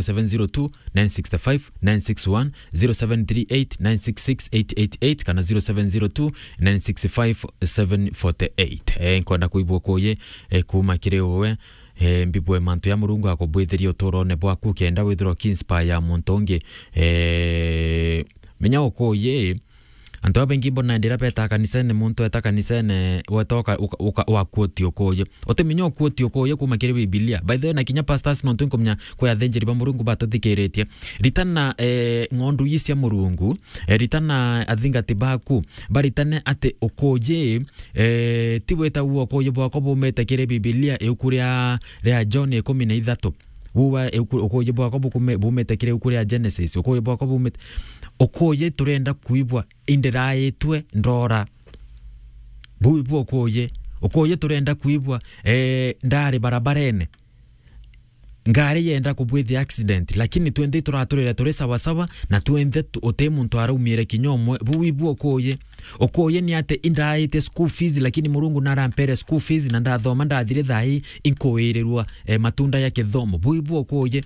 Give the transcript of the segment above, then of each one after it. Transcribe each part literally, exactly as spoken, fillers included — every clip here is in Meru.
seven zero two, nine six five, nine six one, zero seven three eight, nine six six, eight eight eight, kana zero seven zero two, nine six five, seven forty eight. Eh, nkwenda kuigua ukuuji, eh, kuuma kiri uwe. Eh, mbibue mantu ya Murungu akubwithirie uturone bwaku, kenda withirwa ukiinspire muntu ungi. Eh, menya ukuuji, antu babaingi mbona ndira beta kanisene, muntu eta kanisene, weta uka-, uka-, uka-, wakuoti ukuuji. Utimenya ukuoti ukuuji kuuma kiri Bibilia. By the way, na kinya pastors, nontu nkumenya kwi athinjiri ba Murungu batuthikiritie. Ritana, eh, ng'ondu ii cia Murungu, eh, ritana athingati baku, baritane ati ukuuji, eh, ti wita uo ukuuji bwakwa bumite kiri Bibilia, iuku ria, ria John ikumi na ithatu. Uwa iuku-, ukuuji bwakwa bukume-, bumite kiri iuku ria Genesis. Ukuuji bwakwa bumite, ukuuji turenda kuigua indiraitwe ndora. Buu ibu ukuuji. Ukuuji turenda kuigua, eh, ndari barabarene. Ngari yenda kubwithia accident, lakini twenthe turaturire turi sawa sawa, na twenthe tu-, uti muntu araumiire kinya umwe. Buu ibu ukuuji. Ukuuji ni ati indaite school fees, lakini Murungu narampere school fees, na ndathoma ndathire thaa ii inkuwirirwa, eh, matunda ya kithomo. Buu ibu ukuuji.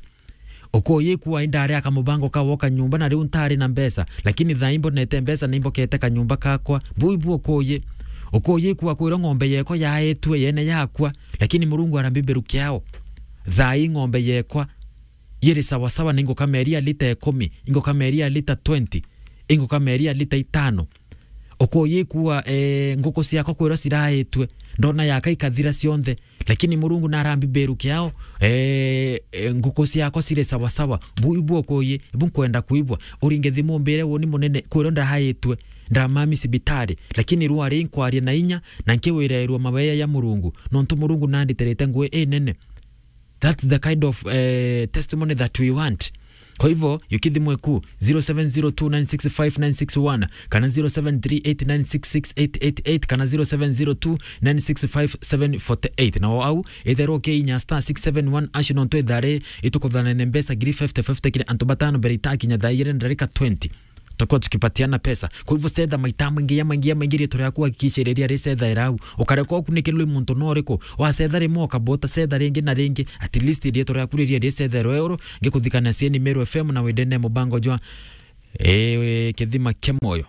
Ukuuji kuwa indari aka mubango ka gwoka nyumba, na riu ntari na mbeca, lakini thaa ii mbonete mbeca na imbokete kanyumba kakwa. Buu ibu ukuuji. Ukuuji kuwa kwirwa ng'ombe yekwa yaetue yene yakwa, lakini Murungu arambiberukia ao. Thaa ii ng'ombe yekwa yiri sawa sawa, na ingukameria lita ikumi, ingukameria lita twenty, ingukameria lita itano. Ukuuji kuwa, eh, nguku ciakwa kwirwa ciraitue, ndona yaka ikathira cionthe, lakini Murungu narambiberukia ao, eh, eh, nguku ciakwa ciri sawa sawa. Buu ibu ukuuji, ibu nkwenda kuigua. Uringe thimu umbire uuni munene, kwirwa ndaitue, ndamami cibitari, lakini rwari nkwaria na inya, na nkiwirairwa maweya ya Murungu, nontu Murungu nanditerete ngui inene. That's the kind of, eh, testimony that we want. Kwa hivyo, yukithimwe ku zero seven zero two nine six five nine six one, kana zero seven three eight nine six six eight eight eight, kana zero seven zero two nine six five seven forty eight. Na o au, itherwo ukiinya star six seven one hash, nontu ithari itukuthanene mbeca ngiri fifty fifty kiri antu batano mbere itakinya thaa igiri na ndarika twenty. Tutakuwa tukipatiana pesa. Kwa hivyo, cetha maita maingi ya maingi ya maingi, riitwa riaku hakikisha riria ricethaira au. Ukareka ukunikirwe muntu no uriku. Wacetha rimwe, ukabota cetha ringi na ringi. At least riitwa riaku riria ricethairwa uru, ngikuthikania cieni Meru F M na wendene mubango jwa, eh, Kithima kia Moyo.